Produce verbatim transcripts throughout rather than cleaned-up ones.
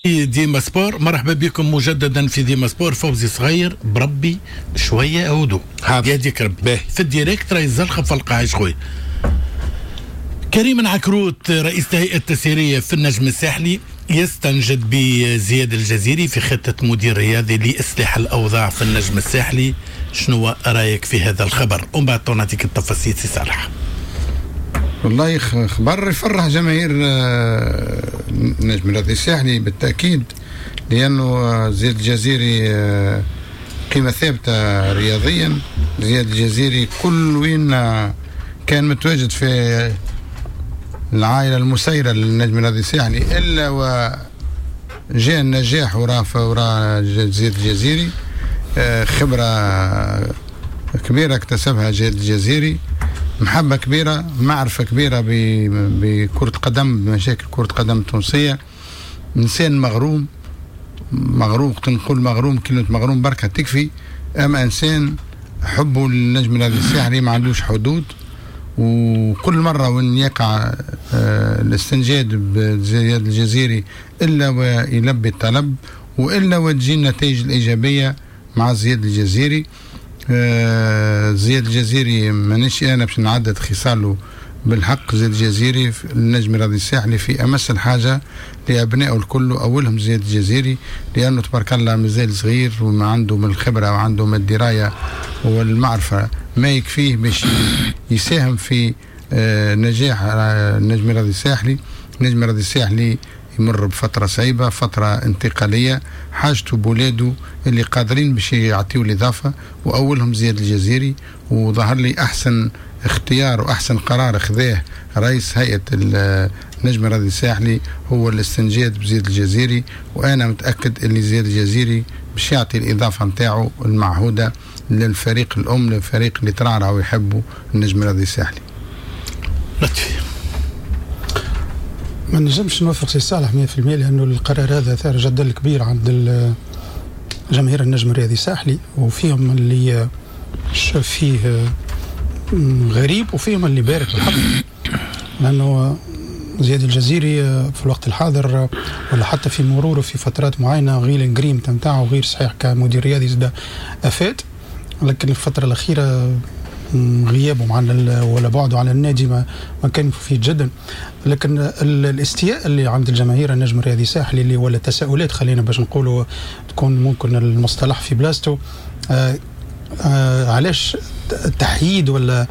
ديما سبور، مرحبا بكم مجددا في ديما سبور. فوزي صغير بربي شوية هدوء يهديك ربي في ال direct، راهي الزلخه في القاع خويا. كريم عكروت رئيس الهيئة التسييريه في النجم الساحلي يستنجد بزياد الجزيري في خطه مدير رياضي لاصلاح الاوضاع في النجم الساحلي. شنو رايك في هذا الخبر؟ ومن بعد نعطيك التفاصيل سي صالح. والله خبر يفرح جماهير النجم الرياضي الساحلي بالتاكيد، لانه زياد الجزيري قيمة ثابتة رياضيا. زياد الجزيري كل وين كان متواجد في العائلة المسيرة للنجم الرياضي الساحلي الا وجاء النجاح وراء وراء زياد الجزيري. خبره كبيرة اكتسبها زياد الجزيري، محبة كبيرة، معرفة كبيرة بكرة قدم، بمشاكل كرة قدم التونسية. إنسان مغروم، مغروم نقول مغروم، كلمة مغروم بركة تكفي. أما إنسان حبه للنجم الرياضي الساحلي ما عندوش حدود، وكل مرة وين يقع الاستنجاد بزياد الجزيري إلا ويلبي الطلب، وإلا وتجي النتائج الإيجابية مع زياد الجزيري. آه زياد الجزيري مانيش انا باش نعدد خصاله بالحق. زياد الجزيري النجم الرياضي الساحلي في امس الحاجة لابنائه الكل، اولهم زياد الجزيري، لانه تبارك الله مازال صغير وما عنده من الخبرة وعنده من الدراية والمعرفة ما يكفيه باش يساهم في آه نجاح النجم الرياضي الساحلي. النجم الرياضي الساحلي يمر بفترة صعيبة، فترة انتقالية، حاجته بولاده اللي قادرين باش يعطيو الإضافة، وأولهم زياد الجزيري. وظهر لي أحسن اختيار وأحسن قرار خذاه رئيس هيئة النجم الرياضي الساحلي هو الاستنجاد بزياد الجزيري، وأنا متأكد اللي زياد الجزيري باش يعطي الإضافة نتاعو المعهودة للفريق الأم، للفريق اللي ترعرع ويحبه النجم الرياضي الساحلي. لطفي، ما نجمش نوافق سي صالح مية في المية، لأنه القرار هذا ثار جدل كبير عند جماهير النجم الرياضي الساحلي، وفيهم اللي شاف فيه غريب وفيهم اللي بارك بالحق، لأنه زياد الجزيري في الوقت الحاضر ولا حتى في مروره في فترات معينة غير الجريم تمتاعه غير صحيح كمدير رياضي زاد أفاد، لكن الفترة الأخيرة غيابه عن ولا بعده عن النادي ما, ما كان مفيد جدا. لكن الاستياء اللي عند الجماهير النجم الرياضي الساحلي اللي ولا تساؤلات، خلينا باش نقولوا تكون ممكن المصطلح في بلاصته، آه آه علاش تحييد ولا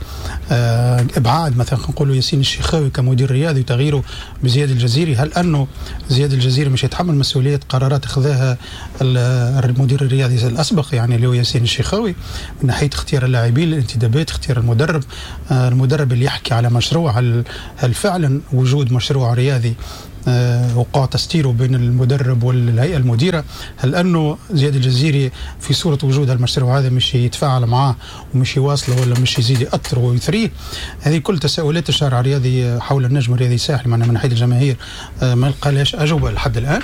آه ابعاد مثلا نقولوا ياسين الشيخاوي كمدير رياضي وتغييره بزياد الجزيري؟ هل انه زياد الجزيري مش يتحمل مسؤولية قرارات اخذها المدير الرياضي الاسبق يعني اللي هو ياسين الشيخاوي من ناحية اختيار اللاعبين، الانتدابات، اختيار المدرب، آه المدرب اللي يحكي على مشروع، هل, هل فعلا وجود مشروع رياضي آه وقع تستيره بين المدرب والهيئة المديرة؟ هل أنه زياد الجزيري في صورة وجود المشروع هذا مش يتفاعل معاه ومش يواصله ولا مش يزيد يأثره ويثريه؟ هذه كل تساؤلات الشارع الرياضي حول النجم الرياضي الساحلي معنا من ناحية الجماهير آه ما لقالهاش أجوبة لحد الآن.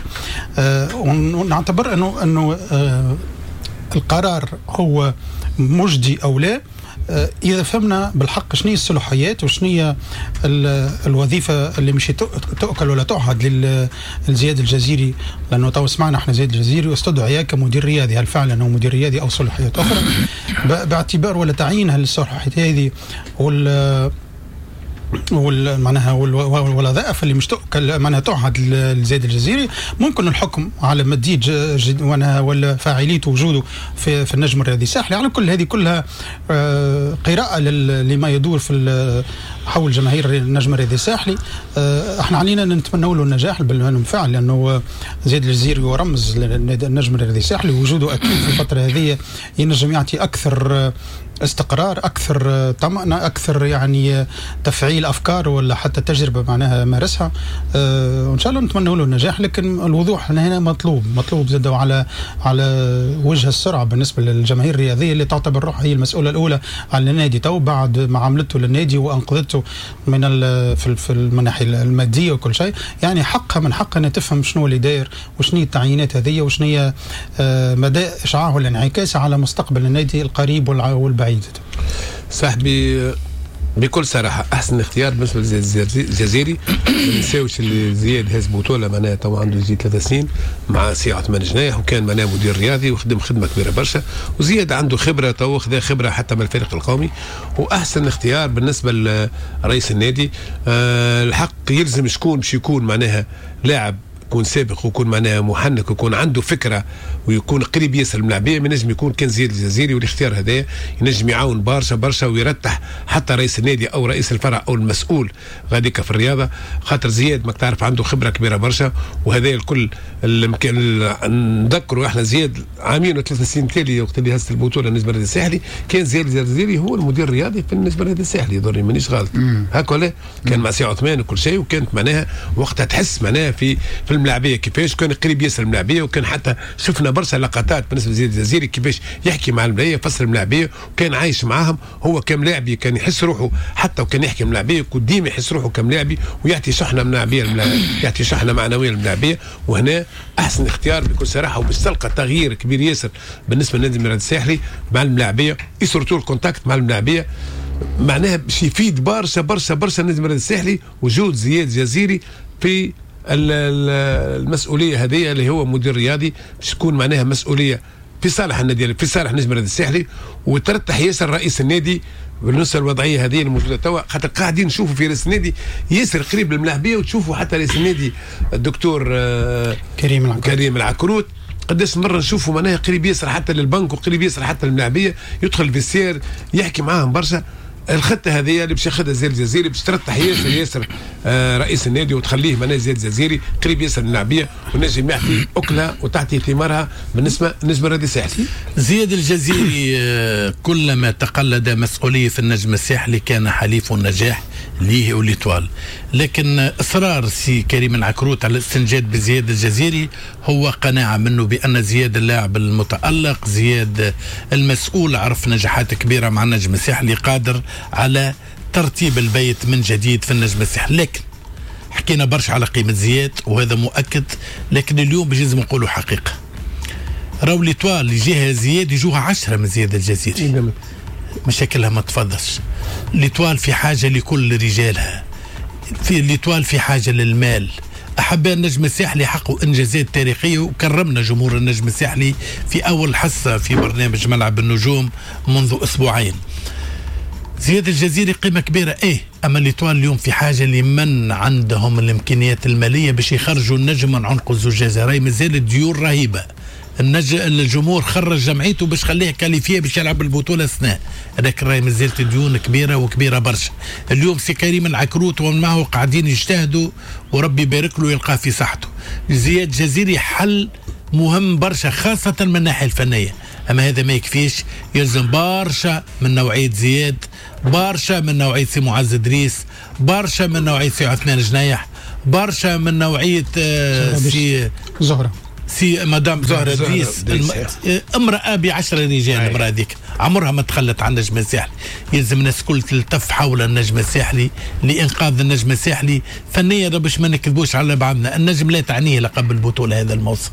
آه ونعتبر أنه أنه آه القرار هو مجدي أو لا إذا فهمنا بالحق شنو هي الصلاحيات وشنو هي الوظيفة اللي مش تؤكل ولا تعهد لزياد الجزيري، لأنه تو سمعنا احنا زياد الجزيري استدعي كمدير رياضي، هل فعلا هو مدير رياضي أو صلاحيات أخرى؟ باعتبار ولا تعيين هالصلاحيات هذه وال وال معناها والوظائف اللي مش تؤكل معناها تعهد لزياد الجزيري، ممكن الحكم على مديد ولا فاعليته وجوده في, في النجم الرياضي الساحلي. على كل هذه كلها قراءة لما يدور في حول جماهير النجم الرياضي الساحلي. احنا علينا نتمنى له النجاح بالفعل، لانه زياد الجزيري هو رمز للنجم الرياضي الساحلي، وجوده اكيد في الفترة هذه ينجم يعطي اكثر استقرار، اكثر طمأنة، اكثر يعني تفعيل افكار ولا حتى تجربه معناها مارسها. أه وان شاء الله نتمنى له النجاح، لكن الوضوح هنا مطلوب، مطلوب زاد على على وجه السرعة بالنسبة للجماهير الرياضية اللي تعتبر روحها هي المسؤولة الاولى على النادي تو بعد ما عملته للنادي وانقذته من في في المناحي المادية وكل شيء. يعني حقها من حقها ان تفهم شنو اللي داير وشنو هي التعيينات هذه وشنو هي مدى اشعاعه والانعكاس على مستقبل النادي القريب والبعيد. صاحبي بكل صراحة احسن اختيار بالنسبة للجزيري. ما نساوش اللي زياد هز بطوله معناها تو عنده يزيد ثلاث سنين مع سي عثمان جناح، وكان معناها مدير رياضي وخدم خدمة كبيرة برشا، وزياد عنده خبره تو خذا خبره حتى من الفريق القومي، واحسن اختيار بالنسبة لرئيس النادي. أه الحق يلزم شكون باش يكون معناها لاعب يكون سابق ويكون معناها محنك ويكون عنده فكرة ويكون قريب ياسر الملاعبيه، ما ينجم يكون كان زياد الجزيري. والاختيار هذا ينجم يعاون برشا برشا ويرتح حتى رئيس النادي او رئيس الفرع او المسؤول غاديك في الرياضة، خاطر زياد ما تعرف عنده خبره كبيرة برشا. وهذا الكل نذكروا احنا زياد عامين وثلاث سنين تالي وقت اللي هز البطولة النجم الرياضي الساحلي كان زياد الجزيري هو المدير الرياضي في النجم الرياضي الساحلي، يضرني مانيش غلط هكا ولا، كان مع سي عثمان وكل شيء، وكانت معناها وقتها تحس معناها في في الملاعبيه كيفاش كان قريب ياسر الملاعبيه، وكان حتى شفنا برشا لقطات بالنسبة لزياد الجزيري كيفاش يحكي مع الملاعبيه يفسر الملاعبيه، وكان عايش معاهم. هو كملاعبي كان يحس روحه حتى وكان يحكي ملاعبيه وديما يحس روحه كملاعبي ويعطي شحنه ملاعبيه يعطي شحنه معنوية للملاعبيه. وهنا احسن اختيار بكل صراحة، وباش تلقى تغيير كبير ياسر بالنسبة للنادي الرياضي الساحلي مع الملاعبيه، surtout ال contact مع الملاعبيه معناها باش يفيد برشا برشا برشا النادي الرياضي الساحلي وجود زياد الجزيري في المسؤولية هذه اللي هو مدير رياضي، باش تكون معناها مسؤولية في صالح النادي في صالح النجم الرياضي الساحلي، وترتح ياسر رئيس النادي بالنسبة للوضعيه هذه الموجودة توا، خاطر قاعدين نشوفوا في رئيس النادي ياسر قريب للملاعبيه، وتشوفوا حتى رئيس النادي الدكتور كريم العكروت كريم العكروت قداش مرة نشوفوا معناها قريب ياسر حتى للبنك وقريب ياسر حتى للملاعبيه، يدخل في السير يحكي معاهم برشا. الخطة هذه اللي باش ياخذها زياد الجزيري باش ترتح ياسر ياسر آه رئيس النادي وتخليه معناها زياد الجزيري قريب ياسر للملاعبيه ونجم يعطي اكلها وتعطي ثمارها بالنسبة للنجم الرياضي الساحلي. زياد الجزيري كلما تقلد مسؤولية في النجم الساحلي كان حليف النجاح ليه و l'Étoile، لكن اصرار سي كريم العكروت على الاستنجاد بزياد الجزيري هو قناعة منه بان زياد اللاعب المتالق، زياد المسؤول، عرف نجاحات كبيرة مع النجم الساحلي، قادر على ترتيب البيت من جديد في النجم الساحلي. لكن حكينا برشا على قيمة زياد وهذا مؤكد، لكن اليوم بجوز نقولوا حقيقة، راهو l'Étoile اللي جاها زياد يجوها عشرة من زياد الجزيري، مشاكلها ما تفضش. l'Étoile في حاجة لكل رجالها، في l'Étoile في حاجة للمال. أحباء النجم الساحلي حققوا إنجازات تاريخية، وكرمنا جمهور النجم الساحلي في أول حصة في برنامج ملعب النجوم منذ أسبوعين. زياد الجزيري قيمة كبيرة إيه، أما l'Étoile اليوم في حاجة لمن عندهم الإمكانيات المالية باش يخرجوا النجم من عنق الزجاجة. راهي مازال الديون رهيبة، النج... الجمهور خرج جمعيته باش خليه qualifié باش يلعب البطولة السنة، لكن راهي مازالت ديون كبيرة وكبيره برشا. اليوم سي كريم العكروت ومن معه قاعدين يجتهدوا وربي يبارك له ويلقاه في صحته. زياد جزيري حل مهم برشا خاصة من الناحية الفنية، اما هذا ما يكفيش، يلزم برشا من نوعية زياد، برشا من نوعية سي معز ادريس، برشا من نوعية سي عثمان جنايح، برشا من نوعية سي زهره سي مدام زهرة دريس، الم... امرأة بعشرة رجال. المرأة هذيك عمرها ما تخلت عن النجم الساحلي. يلزم الناس الكل تلتف حول النجم الساحلي لإنقاذ النجم الساحلي فنيا، باش ما نكذبوش على بعضنا، النجم لا تعنيه لقب البطولة هذا الموسم.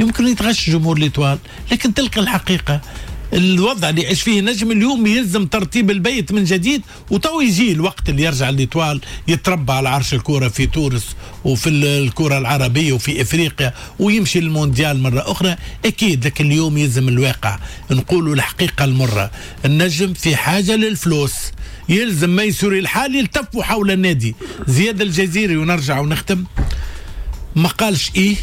يمكن يتغش جمهور l'Étoile، لكن تلقى الحقيقة الوضع اللي يعيش فيه النجم اليوم يلزم ترتيب البيت من جديد، وتو يجي الوقت اللي يرجع l'Étoile يتربى على عرش الكرة في تونس وفي الكرة العربية وفي افريقيا ويمشي للمونديال مرة اخرى اكيد. لكن اليوم يلزم الواقع نقولوا الحقيقة المرة، النجم في حاجة للفلوس، يلزم ما يسوري الحال يلتفوا حول النادي. زياد الجزيري ونرجع ونختم، ما قالش ايه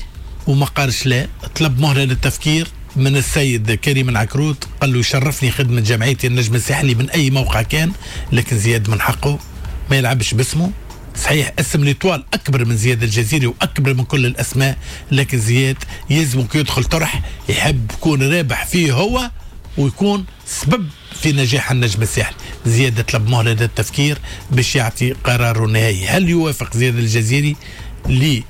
وما قالش لا، طلب مهلة للتفكير من السيد كريم العكروت، قال له يشرفني خدمة جمعيتي النجم الساحلي من أي موقع كان، لكن زياد من حقه ما يلعبش باسمه. صحيح اسم l'Étoile أكبر من زياد الجزيري وأكبر من كل الأسماء، لكن زياد يلزم كي يدخل طرح يحب يكون رابح فيه هو ويكون سبب في نجاح النجم الساحلي. زياد طلب مهلة للتفكير باش يعطي قراره النهائي. هل يوافق زياد الجزيري لي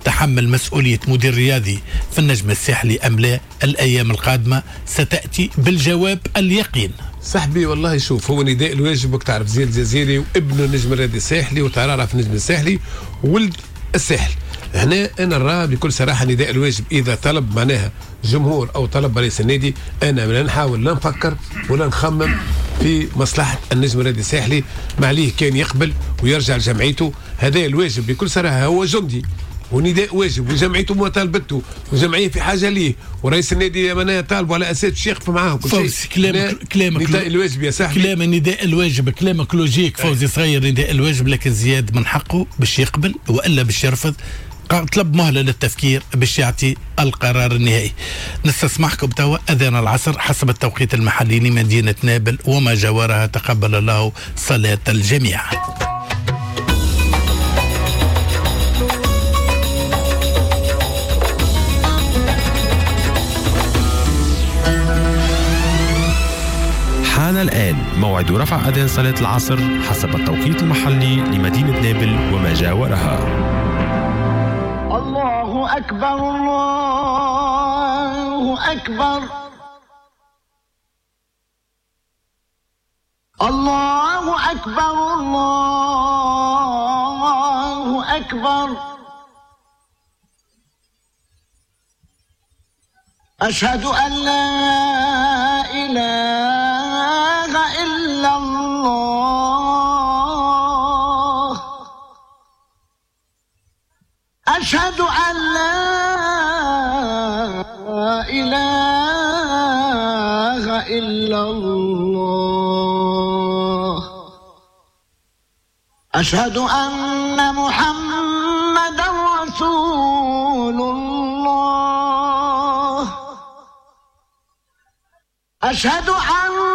تحمل مسؤولية مدير رياضي في النجم الساحلي أم لا؟ الأيام القادمة ستأتي بالجواب اليقين. صاحبي والله شوف، هو نداء الواجب، وقت تعرف زياد الجزيري وابنه النجم الرياضي الساحلي وترعرع في النجم الساحلي ولد الساحل. هنا انا نرى بكل صراحة نداء الواجب اذا طلب معناها جمهور او طلب رئيس النادي، انا لا نحاول لا نفكر ولا نخمم في مصلحة النجم الرياضي الساحلي. ما عليه كان يقبل ويرجع لجمعيته، هذا الواجب بكل صراحة. هو جندي ونداء واجب، وجمعيته مطالبته، وجمعية في حاجة ليه، ورئيس النادي معناها طالبه على اساس باش يقف معاهم كل شيء. فوزي كلامك كلامك نداء الواجب يا صاحبي، كلام نداء الواجب، كلامك logique فوزي صغير، نداء الواجب، لكن زياد من حقه باش يقبل والا باش يرفض. طلب مهلة للتفكير باش يعطي القرار النهائي. نستسمحكم توا أذان العصر حسب التوقيت المحلي لمدينة نابل وما جاورها. تقبل الله صلاة الجميع. حان الآن موعد رفع أذان صلاة العصر حسب التوقيت المحلي لمدينة نابل وما جاورها. الله أكبر الله أكبر الله أكبر الله أكبر. أشهد أن لا إله إلا الله. أشهد أن لا إله إلا الله. أشهد أن محمدا رسول الله. أشهد أن